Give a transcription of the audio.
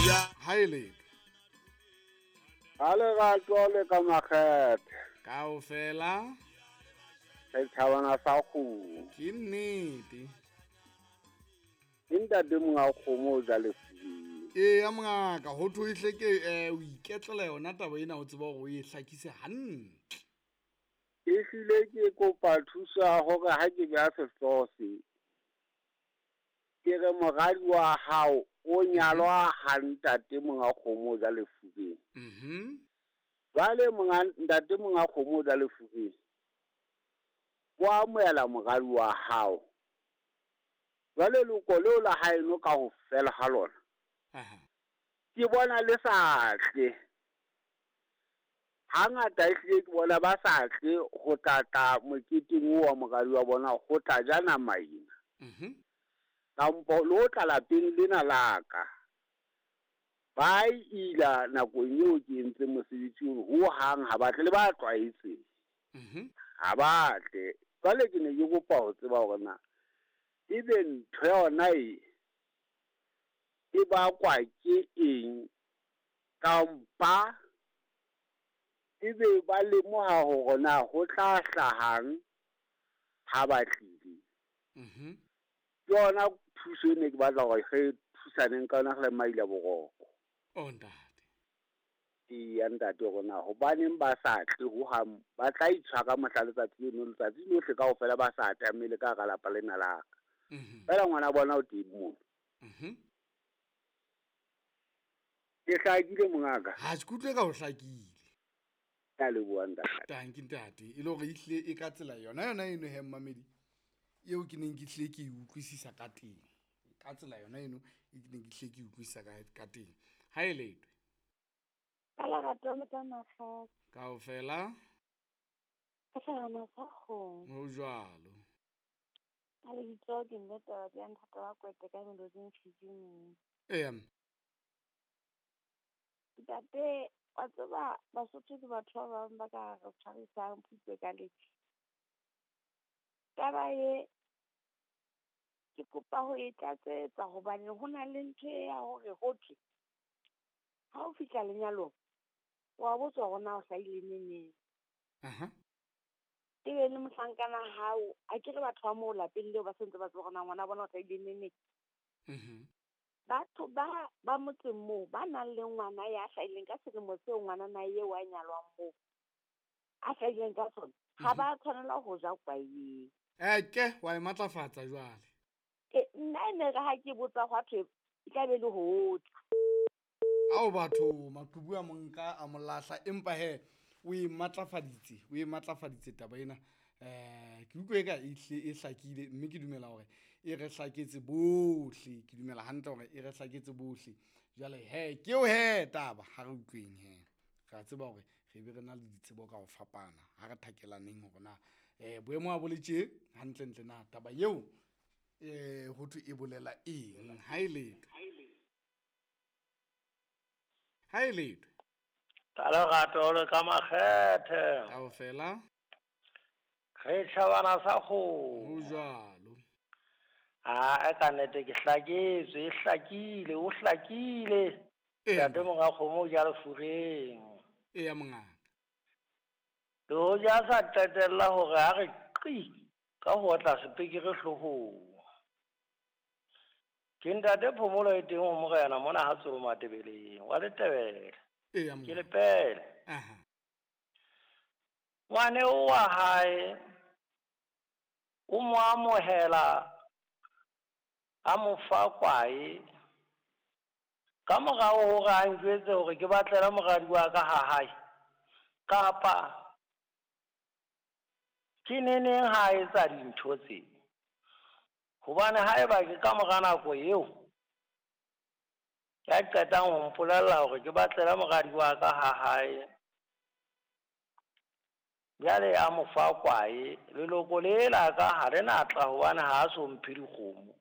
Ha e letho. Ha lerato le ka makgethe. Kaofela. Setjhabana sa kgomo. Ke nnete. Ke ntate monga kgomo o ja lefubeng. Eya mongaka, ho thwe hle ke o iketlela yona taba ena o tseba hore o e hlakise hantle. Ehlile ke kopa thuso ya hore ha ke beha sehlooho se, ke re moradi wa hao o nyalwa ha ntate monga kgomo o ja lefubeng. Jwale monga ntate monga kgomo o ja lefubeng, o amohela moradi wa hao. Jwale leloko leo la haeno ka ho fela ha lona, ke bona le sa tle. Hangata ehlile ke bona ba sa tle ho tla moketeng oo wa moradi wa bona ho tla ja nama ena. Kampo le ho tla lapeng lena la ka. Ba ila nakong eo ke entseng mosebetsi ono, hohang ha ba tle, le ba tlwaetseng. Ha ba tle. Jwale ke ne ke kopa ho tseba hore na ebe ntho yona e e bakwa ke eng, kampa ebe ba lemoha hore na ho tla hlahang ha ba tlile. Ke yona thuso e ne ke batla hore re thusaneng ka yona re le Maila Boroko. Oh ntate. Eya ntate, hore na hobaneng ba sa tle hohang, ba tla itshwara mohla letsatsi leno, letsatsi lohle kaofela ba sa atamele ka hara lapa lena la ka. Feela ngwana bona o teng mono. Ke hlakile mongaka. Ha ke utlwe ka ho hlakile. Ke a leboha ntate. Tanki ntate, e le hore ehlile e ka tsela yona yona eno he mmamedi, eo ke neng ke hlile ke e utlwisisa ka teng. Ka tsela yona eno e ke neng ke hlile ke e utlwisisa ka teng. Ha e letwe. Ka lerato le ka makgethe. Kaofela. Ka hlahana sa kgomo. Ho jwalo. Ka lebitso ke mme taba ya nthata wa kwete ka meloding Fijing. Eya. Ntate, wa tseba Basotho ke batho ba bang ba ka re tshwarisang phutse ka letjha. Taba e ke kopa ho e tlatsetsa hobane ho na le ntho ya hore ho thwe ha o fihla lenyalong wa botswa hore na o hlahile neneng. Ebe le mohlankana hao, a ke re batho ba moo lapeng leo ba sentse ba tseba hore na ngwana bona o hlahile neneng. Batho ba motseng moo ba nang le ngwana ya hlahileng ka selemo seo ngwana na eo a nyalwang moo a hlahileng ka sona, ha ba tshwanela ho ja kwae. Eke wa e matlafatsa jwale. Nna e ne re ha ke botsa hwa thwe e tla be le ho tla. Ao batho maqhubu a monka a molahla, empa he o e matlafaditse, o e matlafaditse taba ena. Ke utlwe eka e hlile e hlakile, mme ke dumela hore e re hlaketse bohle. Ke dumela hantle hore e re hlaketse bohle. Jwale he ke eo he taba, ha re utlweng he. Re a tseba hore re be re na le ditsebo ka ho fapana, ha re thakelaneng hore na boemo ha bo le tje hantlentle na taba eo ho thwe e bolela eng. Ha e letho. Ha e letho. Ka lerato le ka makgethe. Kaofela. Re tjhabana sa kgomo. Ho jwalo. Ha ka nnete ke hlaketswe, e hlakile, o hlakile. Ntate monga kgomo o ja lefureng. Eya mongaka. Le hoja a sa qetella hore a re qi ka ho otla sepekere hloohong. Ke ntate Phomolo e teng ho morena mona ha Tsolo Matebeleng wa Letebele. Eya Ke mongaka. lepele. Ngwane wa hae o mo amohela a mo fa kwae ka morao hore a njwetse hore ke batlela moradi wa ka ha hae, kapa ke neneng ha a etsa dintho tse. Hobane haeba ke ka mora nako eo ya qetang ho mpolella hore ke batlela moradi wa ka ha hae, jwale a mo fa kwae, leloko le la ka ha le na tla hobane ha a so mphe dikgomo.